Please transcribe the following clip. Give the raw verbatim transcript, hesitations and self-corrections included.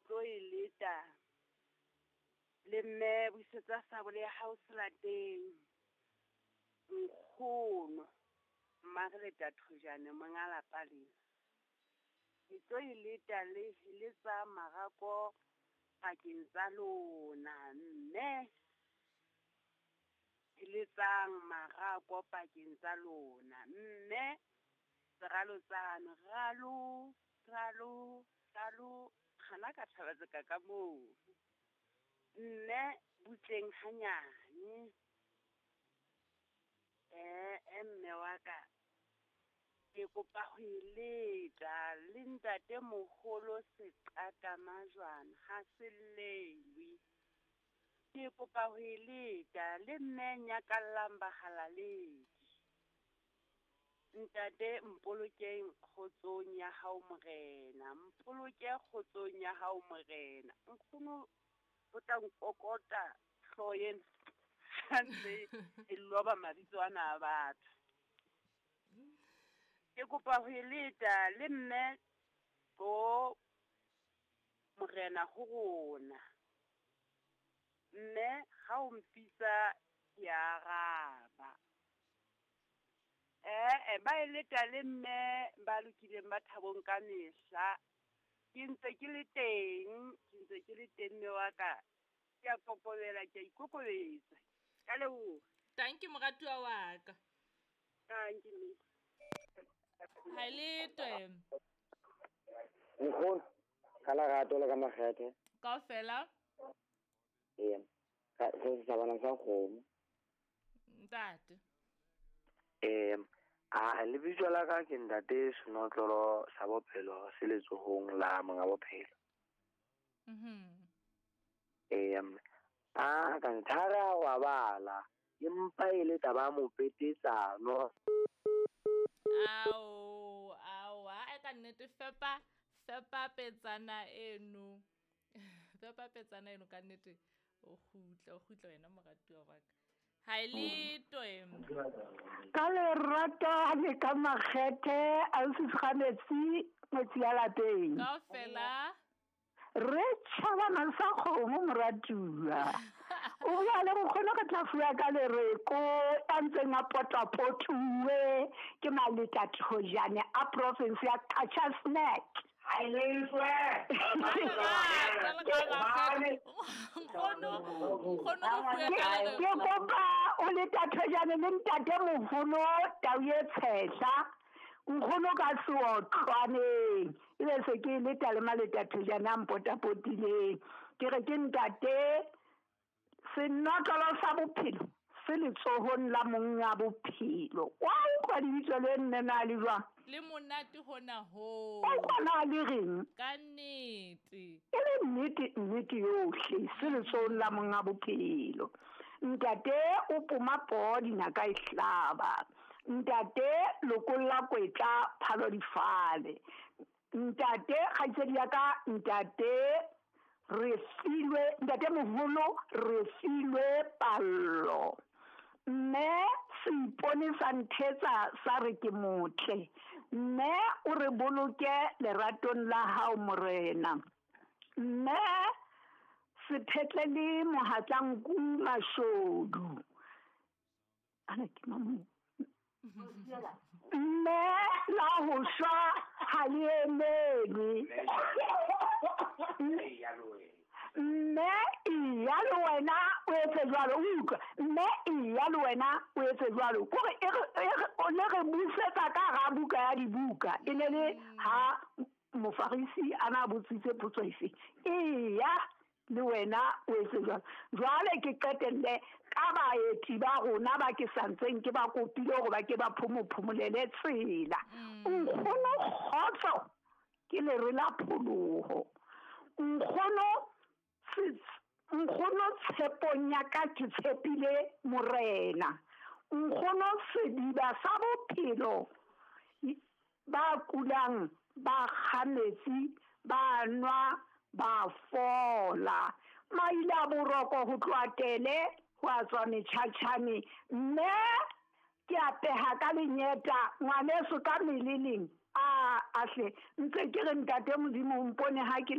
tlo e leta, le mme busetsa sabole ya hao selateng, nkgono, Mmareleta Thojane monga lapa lena. Ke tlo e leta le heletsa marako pakeng tsa lona, mme heletsang marako pakeng tsa lona, mme seralotsana, ralo, ralo, ralo, kgana ka thaba tseka ka moo, mme butleng hanyane. Eh, eh, mme wa ka, ke kopa ho e leta le ntatemoholo seqaka majwana, ha se llewe. Ke kopa ho e leta le mme nyakallang bahalaledi. Ntate mpolokeng kgotsong ya hao morena, mpoloke kgotsong ya hao morena. Nkgono o tla nkokota hlooho ena, ha ntse e loba mabitso ana a batho. Ke kopa ho e leta le mme bo morena ho rona. Mme ha o mpitsa ke a araba. Eh, eh, ba e leta le mme ba lokileng ba thabong ka mehla. Ke ntse ke le teng, ke ntse ke le teng mme wa ka. Ke a kokobela, ke a ikokobetsa. Ka leboha. Thank you moratuwa wa ka. Thank you, mme. Ha le twe. Nkgono, ka lerato le ka makgethe. Kaofela? Ee, ka se se bana sa kgomo. Ntate. Ee, a lebitso la ka ke ntate Senotlolo sa bophelo se letsohong la monga bophelo. Mhm. Ee, a ka nthara wa bala, empa e le taba mopetetsano. Ao, ao, a ka nnete fepa, fepa petsana eno. Fepa petsana eno ka nnete o kgutla, o kgutla wena moratuwa wa ka. Ha e le twe. Ka lerato le ka makgethe, ausi Tshwanetsi, ngwetsi ya lapeng. Kaofela. Re tjhabana sa kgomo moratuwa. O bua le nkgono re tla fuwa ka lereko a ntseng a potapotuwe ke Maleta Thojane a province ya Qacha's Nek. Nkgono, nkgono re fuwe ka lereko. Ke kopa o Leta Thojane le ntatemoholo Tau e Tshehla. Nkgono ka seotlwaneng. Ebe se ke leta le Maleta Thojane a mpotapotileng. Ke re ke ntate senotlolo sa bophelo se letsohong la monga bophelo. Wa utlwa lebitso le nne na le jwang? Le monate hona ho. O utlwa na le reng? Ka nnete. E le nnete, nnete yohle se letsohong la monga bophelo. Ntate o poma poo dinaka e hlaba. Ntate lokolla kwetla phalo difale. Ntate kgaitsedi ya ka, ntate re filwe, ntate moholo re filwe pallo. Mme seipone sa nthetsa sa re ke motle. Mme o re boloke leratong la hao morena. Mme sephetle le mohatlanku mashodu. Ana ke mamu. Mme la ho shwa ha le emelwe. Mme iya le wena o etse jwalo, utlwa. Mme iya le wena o etse jwalo. Kore e re, e re, o le re busetsa ka hara buka ya dibuka. E ne le ha mofarisi a na botsitse potso efe. Iya le wena o etse jwalo. Jwale ke qetelle ka baeti ba rona ba ke santseng ke ba kopile hore ba ke ba phomophomolele tsela. Nkgono kgotso ke lere la pholoho. Nkgono nkgono tshepong ya ka ke tshepile morena. Nkgono sediba sa bophelo ba kulang ba kga metsi ba nwa ba fola. Maile a boroko ho tloha tele ho a tswa metjhatjhane. Mme ke apeha ka lenyeta ngwaneso ka meleleng. A ahle ntse ke re ntate Modimo o mpone ha ke le